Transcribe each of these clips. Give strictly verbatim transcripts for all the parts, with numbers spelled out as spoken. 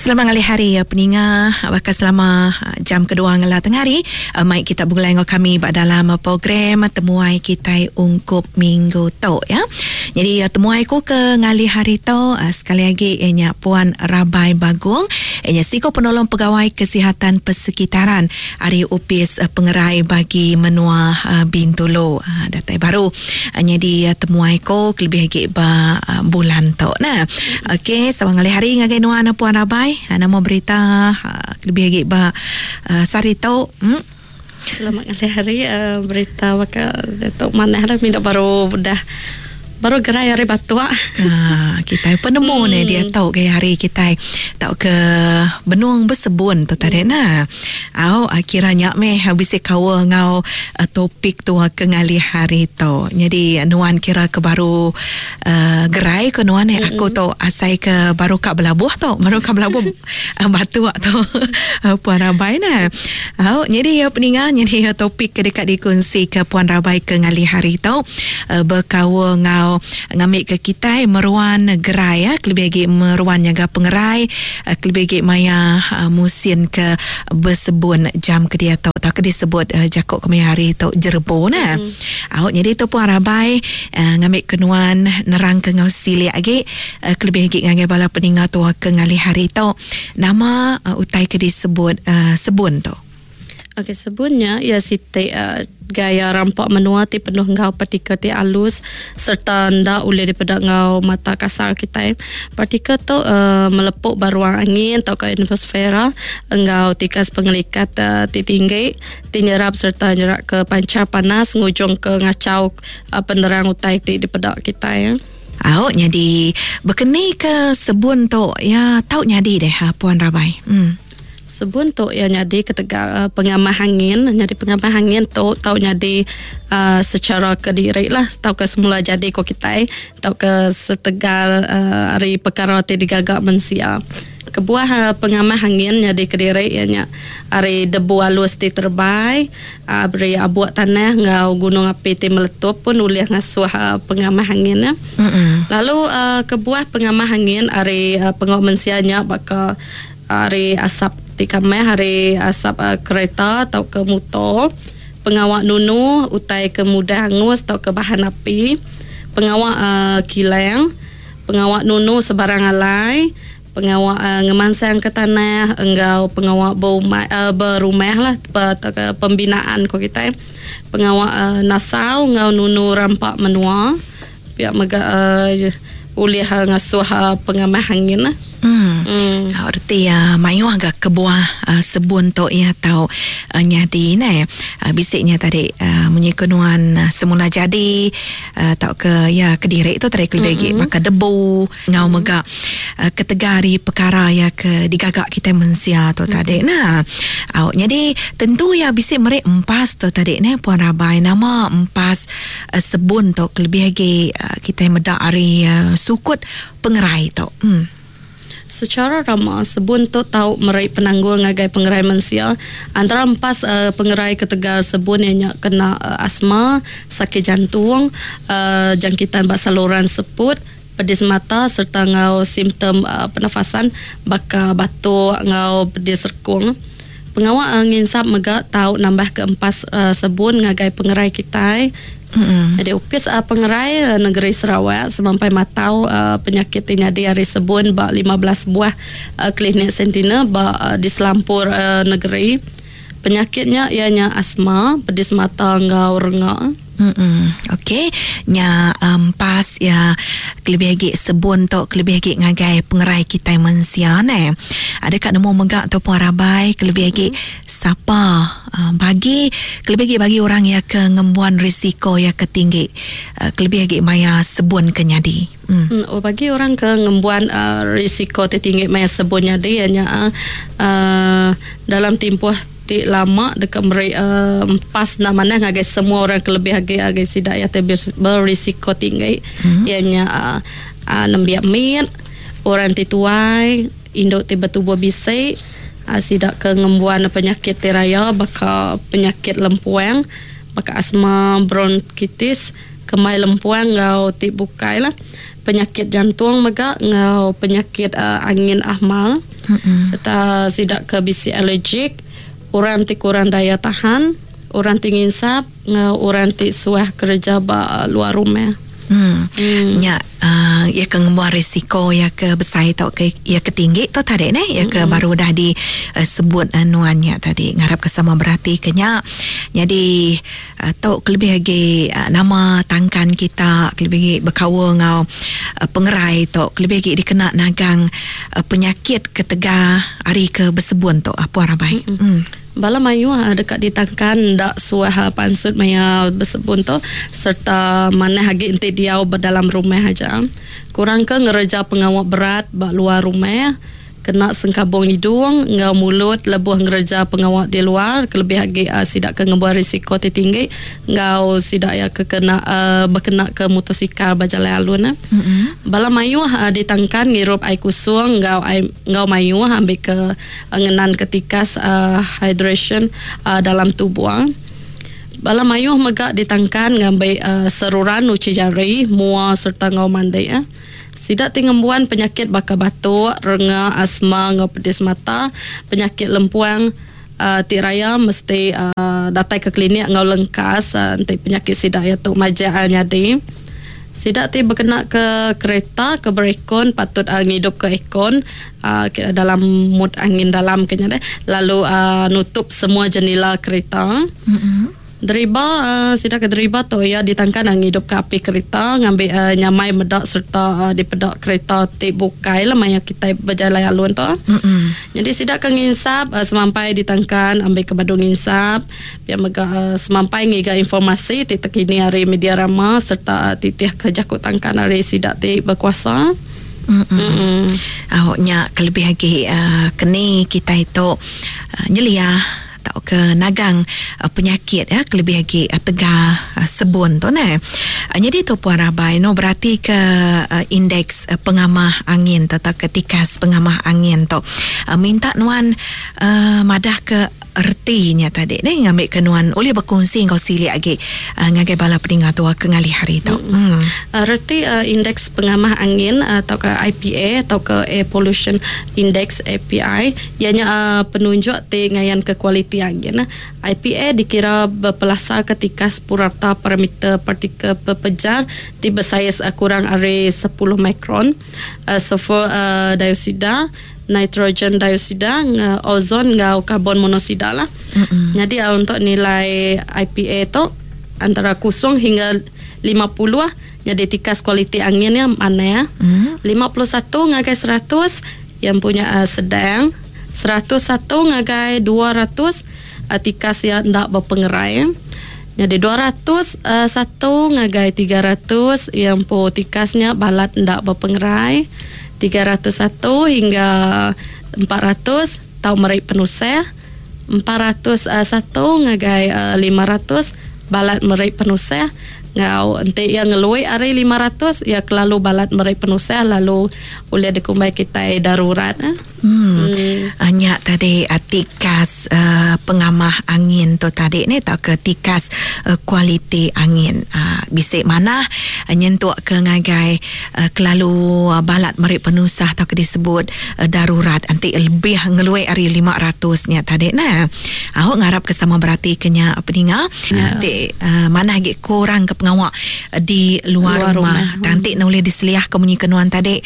Selamat ngalih hari peninga, bakal selama jam kedua ngela tengah hari mai kita begulai ngau kami ba dalam program temuai kita ungkup minggu tu ya. Jadi temuai ku ke ngalih hari tu sekali lagi ianya Puan Rabai Bagong, ianya siko penolong pegawai kesihatan persekitaran ari Upis Pengerai bagi menua Bintulu. Datai baru jadi temuai ku lebih lagi ba bulan tu. Nah, okey, selamat ngalih hari ngagai nuan Puan Rabai. Nama berita lebih lagi ba sehari tu. Hmm? Selamat ngalih hari, uh, berita baka tu manah lah minda baru dah baru gerai hari batua. Ha, kita penemu hmm. ni dia tahu ke hari kita tahu ke benung bersebun tu tadi hmm. nah. Au kiranya meh habis kawa ngau uh, topik tu ke ngalih hari tu. Jadi nuan kira ke baru uh, gerai ke nuan ni hmm. aku tu asai ke baru kak belabuh tu, baru kak belabuh uh, batua tu Puan Rabai nah. Au jadi ya peninga jadi topik ke dekat dikongsi ke Puan Rabai ke ngalih hari tu uh, berkawa ngau ngambil ke kita meruan gerai ya, lebih lagi meruan jaga pengerai, lebih lagi maya musim ke bersebun jam ke dia tau tak ke disebut uh, jakok kemai hari tu jerbo nah. Mm. Awak jadi tu Puan Rabai uh, ngambil kenuan nerang ke ngau silik lagi uh, lebih lagi ngagai bala peninga tu ke ngalih hari tu nama uh, utai ke disebut uh, sebun tu. Okey, sebunnya ya siti uh, gaya rampak menua ti penuh ngau partikel ti alus serta ndak boleh daripada ngau mata kasar kita. Partikel tu uh, melepuk baruang angin atau ke atmosfera engau tikas pengelikat uh, ti tinggi ti nyerap serta nyerak ke pancar panas ngujung ke ngacau uh, penerang utai ti daripada kita ya. Au nyadi berkeni ke sebun tu ya tau nyadi deh ha, Puan Rabai. Hmm. Sebun tu ya nyadi ketegal uh, pengamah angin, nyadi pengamah angin tu tau nyadi uh, secara kediri lah, tau ke semula jadi ko kita, tau ke setegal uh, hari perkara ti digagak mensia. Kebuah uh, pengamah angin nyadi kediri ianya hari debu alus ti terbai, uh, beri abuak tanah ngau gunung api ti meletup pun ulih ngasuh uh, pengamah angin ya. Mm-hmm. Lalu uh, kebuah pengamah angin hari uh, pengok mensianya baka hari asap ti kameh hari asap uh, kereta atau ke motor, pengawak nunu utai ke mudah hangus atau ke bahan api, pengawak uh, kilang, pengawak nunu sebarang alai, pengawak uh, ngemansang ke tanah enggau pengawak berumah, uh, berumah lah atau ke pembinaan ko kita, pengawak uh, nasau enggau nunu rampak menua pihak mega uh, ulih uh, ngasuh uh, pengamah angin lah. Hmm. Hmm. Erti ya mayuh agak kebuah uh, sebun tu ya tau uh, nyadi ne. Uh, bisiknya tadi uh, munyi kenuan uh, semula jadi uh, tau ke ya kediri tu tadi lebih mm-hmm. maka debu ngau mm-hmm. mega uh, ketegari perkara ya ke digagak kita mensia tu mm-hmm. tadi. Nah, uh, jadi tentu ya bisik merek empas tu tadi ne Puan Rabai nama empas uh, sebun tu lebih lagi uh, kita medak ari uh, sukut pengerai tu. Hmm. Secara ramah sebun tu tau merai penanggul ngagai pengerai mensia antara empas uh, pengerai ketegal sebun yang kena uh, asma, sakit jantung, uh, jangkitan bak saluran seput, pedis mata serta ngau simptom uh, pernafasan baka batuk ngau pedis rekung. Pengawak uh, nginsap mega tau nambah ke empas uh, sebun ngagai pengerai kita. Mm-hmm. Jadi upis uh, pengerai uh, negeri Sarawak sampai matau uh, penyakit ini di hari sebun ba lima belas buah uh, klinik Sentinel ba uh, di selampur uh, negeri. Penyakitnya ianya asma, pedis mata ngau rengak. Hmm. Okey, nya um, pas ya kelebih lagi sebun tu kelebih lagi ngagai pengerai kita mensia ne. Ada kat nemu megak tu Puan Rabai kelebih lagi mm-hmm. sapa uh, bagi kelebih lagi bagi orang yang ke ngembuan risiko yang ketinggi uh, kelebih lagi maya sebun ke nyadi. Hmm. Hmm, oh bagi orang ke ngembuan uh, risiko tertinggi maya sebun nyadi ianya uh, uh, dalam tempoh ti lama dekat meri uh, empas nak mana ngagai semua orang kelebih agi agi sidak ya berisiko tinggi hmm. ianya uh, uh, nembiak mit orang ti tuai induk ti bertubuh bisik uh, sidak ke ngembuan penyakit ti raya baka penyakit lempuang baka asma bronkitis kemai lempuang ngau ti bukai lah penyakit jantung mega ngau penyakit uh, angin ahmal. Mm-hmm. Serta sidak ke bisi allergic, orang ti kurang daya tahan, orang ti nginsap, ngau orang ti suah kerja ba luar rumah. Hmm. Hmm. Nya uh, ya ke ngembuan risiko ya ke besai atau ke ya ke tinggi tu tadi ne ya ke hmm. baru dah disebut uh, nuannya tadi ngarap ke sama berarti ke nya. Jadi uh, tu kelebih lagi uh, nama tangkan kita kelebih lagi berkaul ngau uh, pengerai tu kelebih lagi dikena nagang uh, penyakit ketega hari ke bersebun tu apa rabai. Hmm. Hmm. Bala mayu dekat ditangkan ndak suah pansut maya bersebun tu serta mana hagi enti diau berdalam rumah aja. Kurang ke ngereja pengawak berat bak luar rumah, kena sengkabung hidung ngau mulut lebuh ngereja pengawak di luar kelebih lagi uh, sidak ke ngebuat risiko ti tinggi ngau sidak ya ke kena uh, berkena ke motosikal berjalan alun. Mm-hmm. Bala mayu uh, ditangkan ngirup air kusung ngau air ngau mayu ambil ke uh, ngenan ketikas uh, hydration uh, dalam tubuh. Bala mayu megak ditangkan ngambil uh, seruran uci jari mua serta ngau mandi eh. Sidak tingembuan penyakit bakar batuk, renga, asma, ngau pedis mata, penyakit lempuang, uh, ti raya mesti uh, datang ke klinik ngau lengkas uh, nanti penyakit sidak ya tu majak uh, nyadi. Sidak ti berkena ke kereta, ke berekon, patut uh, ngidup ke ekon uh, dalam mood angin dalam kenya deh. Lalu uh, nutup semua jendela kereta. Mm-hmm. Deriba uh, sidak ke deriba tu ya ditangkan ang hidup ke api kereta ngambil uh, nyamai medak serta uh, di pedak kereta ti bukai lah maya kita berjalan alun tu. Mm-hmm. Jadi sidak ke nginsap uh, semampai ditangkan ambil ke badung nginsap biar mega uh, semampai ngiga informasi ti terkini hari media rama serta uh, titih ke jakut tangkan hari sidak ti berkuasa. Mm-mm. Awaknya kelebih lagi uh, keni kita itu uh, nyelia atau ke nagang uh, penyakit ya kelebih lagi uh, tegar uh, sebun tu ne. Uh, jadi tu puan rabai no berarti ke uh, indeks uh, pengamah angin atau ke tikas pengamah angin tu. Uh, minta nuan uh, madah ke ertinya tadi ni ngambil ke nuan oleh berkongsi kau silik lagi uh, ngagai bala peningat tua ke ngalih hari tu. Hmm. Uh, reti uh, indeks pengamah angin atau ke I P A atau ke Air Pollution Index A P I ianya uh, penunjuk ti ngayan ke kualiti angin. I P A dikira berpelasar ketika purata parameter partikel pepejar ti bersaiz uh, kurang ari sepuluh mikron, uh, sulfur uh, dioksida, nitrogen dioksida, ozon ngau karbon monoksida lah. Mm-hmm. Jadi uh, untuk nilai I P A tu antara kosong hingga lima puluh lah. Jadi tikas kualiti anginnya mana ya? Mm. lima puluh satu ngagai seratus yang punya uh, sedang, seratus satu ngagai dua ratus uh, tikas yang ndak berpengerai. Jadi dua ratus satu ngagai tiga ratus yang po tikasnya balat ndak berpengerai. tiga ratus satu hingga empat ratus tau merik penusah. empat ratus satu ngagai lima ratus balat merik penusah. Ngau enti yang ngelui hari lima ratus ya kelalu balat merik penusah lalu boleh dikumbai kita darurat. Eh? Hmm. Hmm. Nya tadi tikas uh, pengamah angin tu tadi ni atau ke tikas uh, kualiti angin uh, bisik mana uh, nyentuk ke ngagai uh, kelalu uh, balat merik penusah atau ke disebut uh, darurat anti lebih ngeluai hari lima ratus nya tadi nah. Awak ngarap ke sama berarti kenya peninga yeah. Nanti uh, mana lagi kurang ke pengawak uh, di luar, luar rumah. rumah. Nanti nak boleh diseliah ke munyi kenuan tadi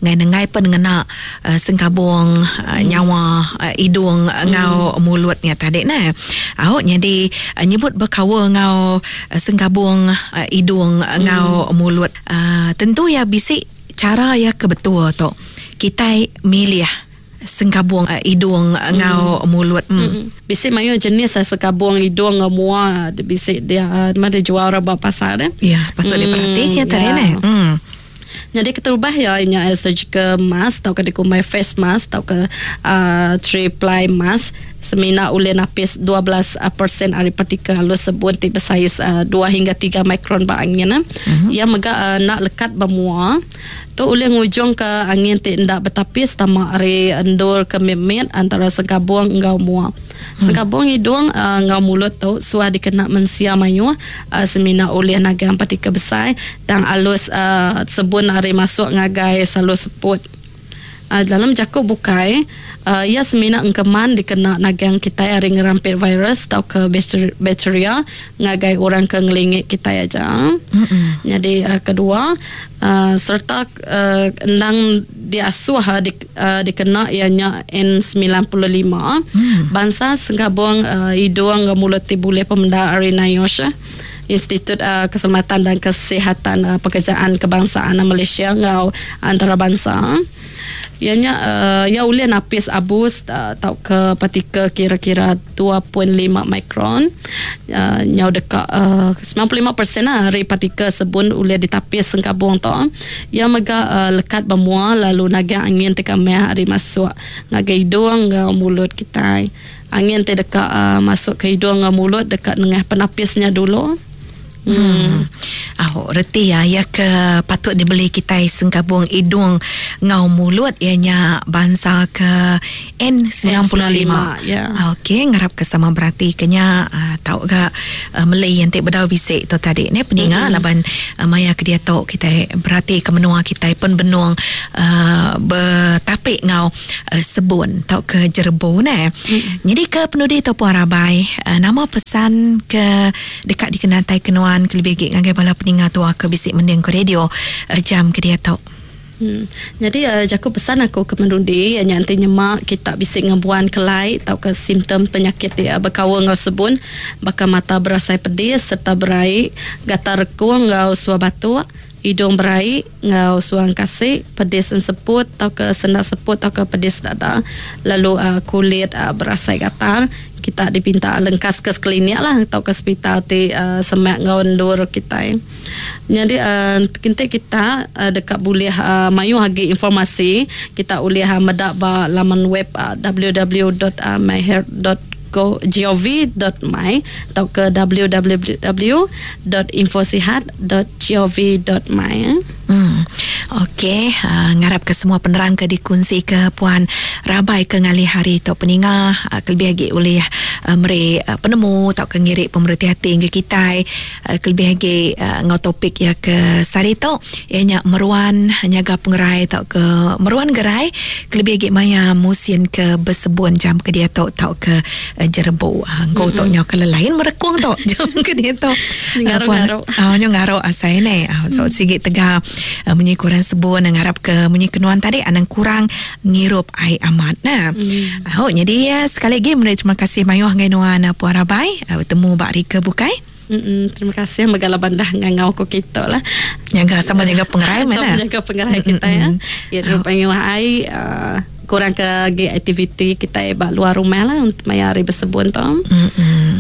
ngai-ngai pen ngena uh, sengkabung Uh, nyawa uh, hidung uh, ngau mm. mulutnya tadi nah. Awak jadi uh, nyebut berkawa ngau uh, sengkabung uh, hidung uh, ngau mm. mulut uh, tentu ya bisik cara ya kebetul tu kita milih sengkabung uh, hidung uh, ngau mm. mulut. Mm. Mm. Bisik mayu jenis uh, sengkabung hidung ngau mua bisik dia uh, mana jual orang buat pasar eh. Ya, patut mm. diperhatikan ya tadi nah. Mm. Jadi keterubah ya inya surgical mask atau ke dikumbai face mask atau ke uh, three ply mask semina oleh napis dua belas peratus ari partikel halus sebun ti bersaiz uh, dua hingga tiga mikron ba angin. Uh-huh. Ia mega uh, nak lekat bermua tu oleh ngujung ke angin ti ndak bertapis tama ari endur ke mimit antara sengkabung enggau mua. Sengkabung hidung uh, ngau mulut tu suah dikena mensia mayu uh, semina oleh nagang partikel besar dan alus uh, sebun ari masuk ngagai salur seput. Uh, dalam jakuk bukai uh, ia semina engkeman dikena nagang kita hari ngerampit virus atau ke bakteria ngagai orang ke ngelingi kita aja. Mm-hmm. Jadi uh, kedua uh, serta uh, endang diasuh uh, di, uh, dikena ianya N sembilan puluh lima. Mm. Bangsa senggabung uh, hidung mulut ti boleh pemenda ari NIOSH, Institut uh, Keselamatan dan Kesihatan uh, Pekerjaan Kebangsaan Malaysia ngau antarabangsa. Ianya uh, ya ulih napis abus uh, tau ke partikel kira-kira dua perpuluhan lima mikron. Uh, nyau dekat uh, sembilan puluh lima peratus lah hari partikel sebun ulih ditapis sengkabung tu. Ia mega uh, lekat bermua lalu naga angin teka meh hari masuk ngagai hidung ngau mulut kita. Angin te dekat uh, masuk ke hidung ngau mulut dekat nengah penapisnya dulu. Hmm. Hmm. Oh, reti ya, ya ke patut dibeli kita sengkabung hidung ngau mulut ianya bangsa ke N sembilan puluh lima. Ya. Okey, ngarap ke sama berarti kenya uh, tahu ga uh, Malay yang tak berdau bisik tu tadi ni peninga mm-hmm. laban uh, maya ke dia tu kita berarti ke menua kita pun benung uh, bertapik ngau uh, sebun tau ke jerbu ne. Mm-hmm. Jadi ke penudi tu puan Rabai, uh, nama pesan ke dekat dikenantai kenuan kelebih gig ngagai bala peninga tua ke bisik mending ke radio uh, jam ke dia tu. Hmm. Jadi uh, jaku pesan aku ke mendundi yang nanti nyemak kita bisik ngebuan kelai atau ke simptom penyakit dia berkawal ngau sebun bakal mata berasai pedih serta beraik gatal rekung ngau suah batuk hidung beraik ngau suang kasih pedis semput atau ke sendak seput atau ke pedis dada lalu uh, kulit uh, berasai gatal kita dipinta lengkas ke klinik lah atau ke hospital ti uh, semak ngau ndur kita. Jadi uh, kita kita uh, dekat boleh uh, mayu hagi informasi kita boleh uh, medak ba laman web uh, w w w dot myhealth dot gov dot my atau ke w w w dot infosihat dot gov dot my. Hmm. Okey, uh, ngarap ke semua penerang ke dikunci ke Puan Rabai ke ngalih hari tu peninga uh, kelebih lagi oleh uh, mere uh, penemu atau ke ngirik pemerhati hati ke kita uh, kelebih lagi uh, ngau topik ya ke sari tu ianya meruan nyaga pengerai atau ke meruan gerai kelebih lagi maya musim ke bersebun jam ke dia tu atau ke uh, jerbu uh, ngau tu nyau ke lain merekung tu jam ke dia tu ngaru-ngaru uh, nyu ngaru asai ne uh, so sigit tegak Uh, munyi kurang sebun ngarap ke munyi kenuan tadi anang kurang ngirup air amat nah. Hmm. Oh, jadi ya, sekali lagi menarik terima kasih mayuh ngai nuan Puan Rabai uh, bertemu bak Rika bukai. Mm-mm, terima kasih megala bandah ngangau ko kita lah. Jaga sama jaga pengerai mana? Sama jaga pengerai kita ya. Ya rupanya ai uh, kurang ke lagi aktiviti kita bak luar rumah lah untuk maya hari bersebun tu. Hmm.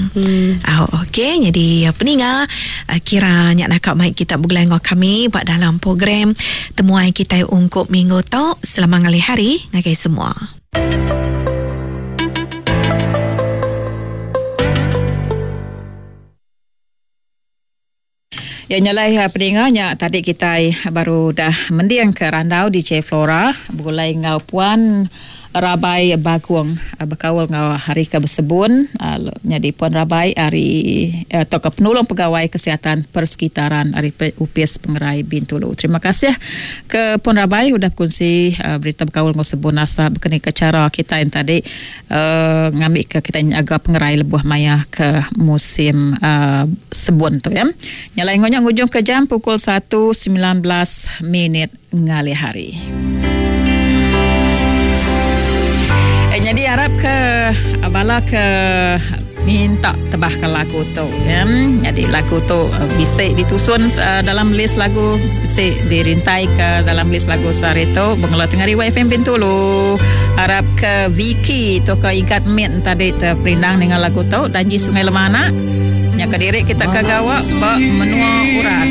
Hmm. Oh, okey, jadi peninga kira nyak nakak mic kita bergelai ngau kami buat dalam program temuai kita ungkup minggu tu selama ngalih hari ngagai semua. Ya nyalai peninganya tadi kita baru dah mendiang ke randau D J Flora bergulai ngau Puan Rabai Baguang berkawal ngau hari ke bersebun jadi Puan Rabai hari atau ke penolong pegawai kesihatan persekitaran hari U P S Pengerai Bintulu. Terima kasih ke Puan Rabai sudah kongsi berita berkawal ngau sebun asa berkenaan ke cara kita yang tadi uh, ngambil ke kita agak pengerai lebuh maya ke musim uh, sebun tu ya. Nyalai ngonya ngujung ke jam pukul satu sembilan belas minit ngalih hari. Jadi harap ke bala ke minta tebahkan lagu tu ya. Jadi lagu tu bisa ditusun uh, dalam list lagu, bisa dirintai ke dalam list lagu sehari tu Bengala Tengah Riwai F M Bintulu. Harap ke Vicky tu ke Igat Min tadi terperindang dengan lagu tu Danji Sungai Lemana. Nya ke diri kita ke gawak ba menua orang.